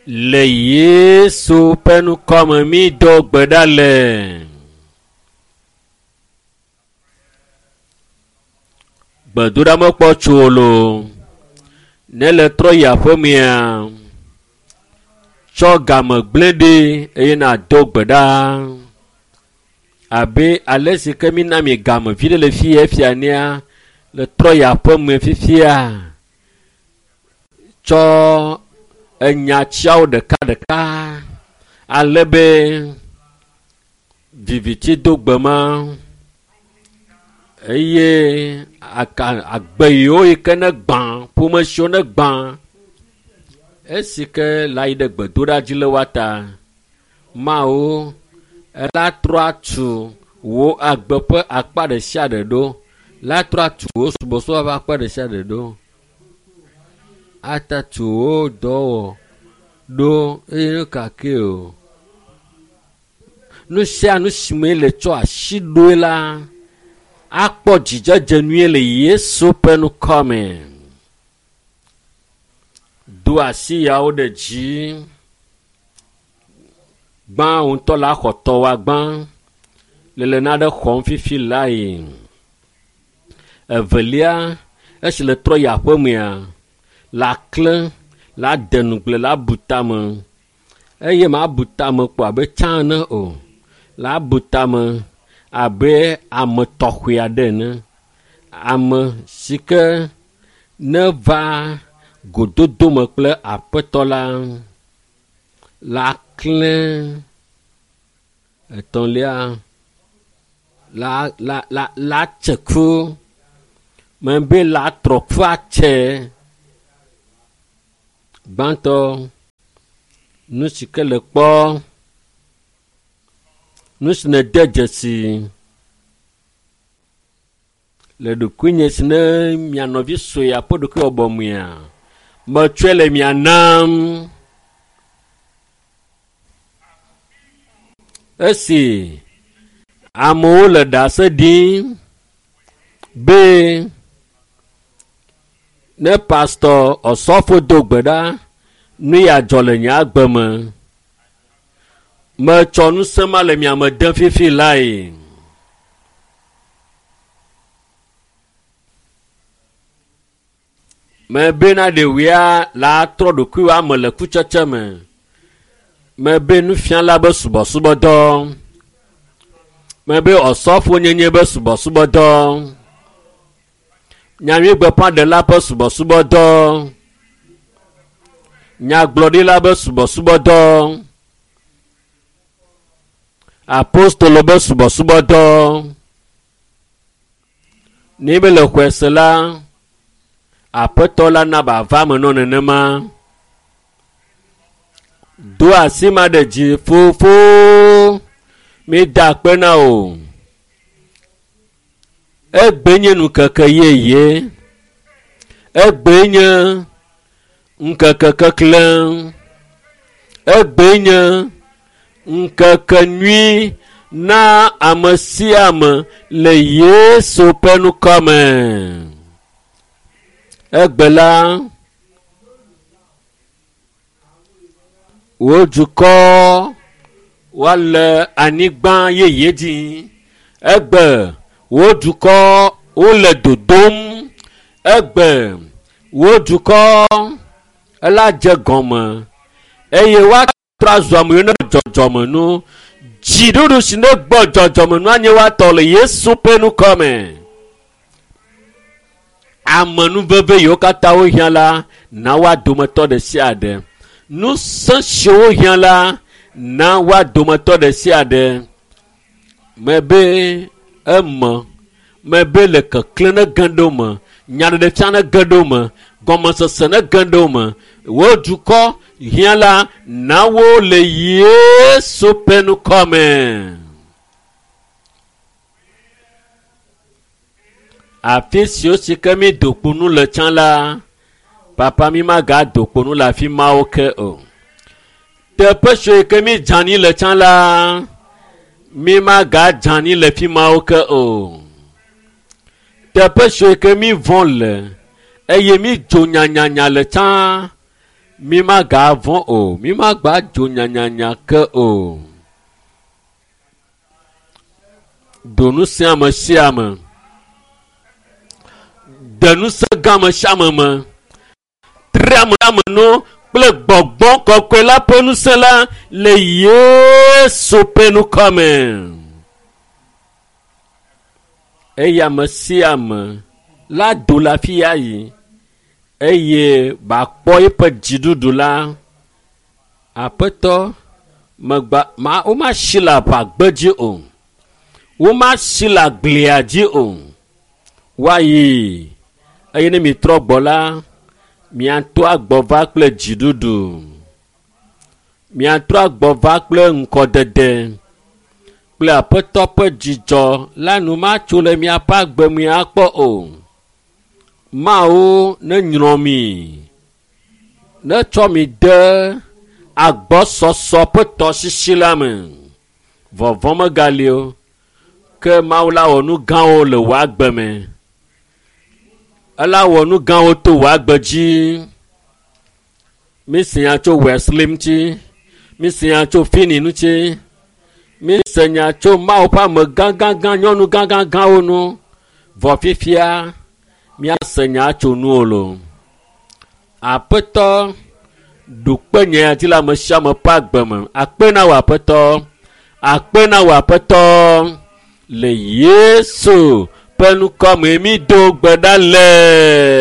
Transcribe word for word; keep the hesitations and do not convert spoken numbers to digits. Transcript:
Le Yesu ƒe ŋkɔme mi do gbe ɖa le. Gbedoɖa mekpɔ tso o loo. Ne le trɔ yi aƒemea, tsɔ game gblẽ ɖi eye nàdo gbe ɖa. Abe ale si ke mina mi game vi ɖe le fi efia nea, le trɔ yi aƒeme fifia. Tsɔ enyatsiawo ɖekaɖeka ale be viviti do gbe ma eye aka agbe yiwo yi ke ne gbã ƒome siwo ne gbã esi ke la yi ɖe gbedoɖa dzi le woa ta mawo ela trɔ atu wo agbe ƒe akpa ɖe sia ɖe ɖo la trɔ atu wo subɔsubɔ ƒe akpa ɖe sia ɖe ɖo atatu wo dɔwɔ ɖo eye nu ka ke o nu sia nu si me le tsɔ asi ɖoe la akpɔ dzidzedze nyuie le Yesu ƒe ŋkɔme. Do asi yawo ɖe dzi. Gbã wo ŋutɔ la xɔ tɔwoa gbã. Le le naɖe xɔm fifi lae. Evelia, esi le trɔ yi aƒemea, la klẽ, la de ŋugble, la bu tame. Eye mabu tame kpɔ abe tsã ene o. La bu tame abe ame tɔxɛ aɖe ene. Ame si ke neva gododome kple aƒetɔ la la klẽ. Etɔ̃lia, la la la la tse ku. Mebe la trɔ ku atse. Gbãtɔ, nu si ke le kpɔ, nu si nede dzesi le ɖokuinye si ne mia nɔvi sue aƒe ɖokuiwɔbɔ mea, metsɔe le mia nam. Esi amewo le ɖase ɖim be ne pastor Osɔfo do gbe ɖa, nu ya dzɔ le nye agbe me. Metsɔ ŋusẽ ma le mia me dem fifi lae. Mebena ɖevia la trɔ ɖokuiwo ame le kutsetse me. Mebe nufiala be subɔsubɔdɔ. Mebe Osɔfo nyenye be subɔsubɔdɔ. Nyanyuigbeƒãɖela ƒe subɔsubɔdɔ. Nyagblɔɖila be subɔsubɔdɔ. Apostolo be subɔsubɔdɔ. Ne be le xɔe se la, aƒetɔ la na ba va me nɔ nenema. Do asi ma ɖe dzi fofo. Mi da akpe na o. Egbe nye ŋkeke yeye. Egbe nye ŋkeke keklẽ. Egbe nye ŋkeke nyui na ame sia ame le Yesu ƒe ŋkɔme. Egbe la, wò dukɔ woale anyigba yeye dzi. Egbe wò dukɔ wole dodom. Egbe wò dukɔ ela dze gɔme eye woatrɔ azu ame yiwo ne dzɔdzɔme nu. Dziɖuɖu si ne gbɔ dzɔdzɔme nu anye woatɔ le Yesu ƒe ŋkɔme. Amenuveve yiwo katã wohiã la, na woa dometɔ ɖe sia ɖe. Ŋusẽ siwo wohiã la, na woa dometɔ ɖe sia ɖe. Mebe eme, mebe le keklẽ ne ge ɖe wo me, nyaɖeɖefia ne ge ɖe wo me, gɔmesese ne ge ɖe wo me. Wo dukɔ hiã la, na wo le Yesu ƒe ŋkɔme. Afi siwo si ke mi do kpo nu le tsã la, papa mi magado kpo nu le afi mawo ke o. Teƒe siwo yi ke mi dze anyi le tsã la, mi magadze anyi le fi mawo ke o. Teƒe siwo yi ke mi vɔ̃ le eye mi dzo nyanyanya le tsã, Mi magavɔ̃ o, mi magba dzo nyanyanya ke o. Do ŋusẽ ame sia ame. De ŋusẽ gã ame sia ame me. Tre ame ame nu kple gbɔgbɔ kɔkɔe la ƒe ŋusẽ la le Yesu ƒe ŋkɔ me. Eye ame sia ame la do le afi ya yi eye bakpɔ eƒe dziɖuɖu la. Aƒetɔ, megba ma womasi le aʋagbedzi o. Womasi le agblia dzi o. Woayi eye ne mitrɔ gbɔ la, miatrɔ agbɔ va kple dziɖuɖu. Miatrɔ agbɔ va kple ŋkɔdede kple aƒetɔ ƒe dzidzɔ la nu matso le miaƒe agbe me akpɔ o. Mawu nenyrɔ mi, netsɔ mi de agbɔsɔsɔ ƒe tɔsisi la me. Vɔvɔ̃ megali o, ke Mawu la wɔ nu gãwo le wò agbe me. Ela wɔ nu gãwo to wò agbe dzi. Mi se nya tso Wesley ŋuti, mi se nya tso Finney ŋuti, mi se nya tso Mawu ƒe ame gãgãgã, nyɔnu gãgãgãwo ŋu. Vɔ fifia, míase nya tso nuwò loo. Aƒetɔ, ɖu kpe nye ya dzi le ame sia ame ƒe agbe me. Akpe na wò Aƒetɔ, akpe na wò Aƒetɔ le Yesu ƒe ŋkɔ me mi do gbe ɖa le.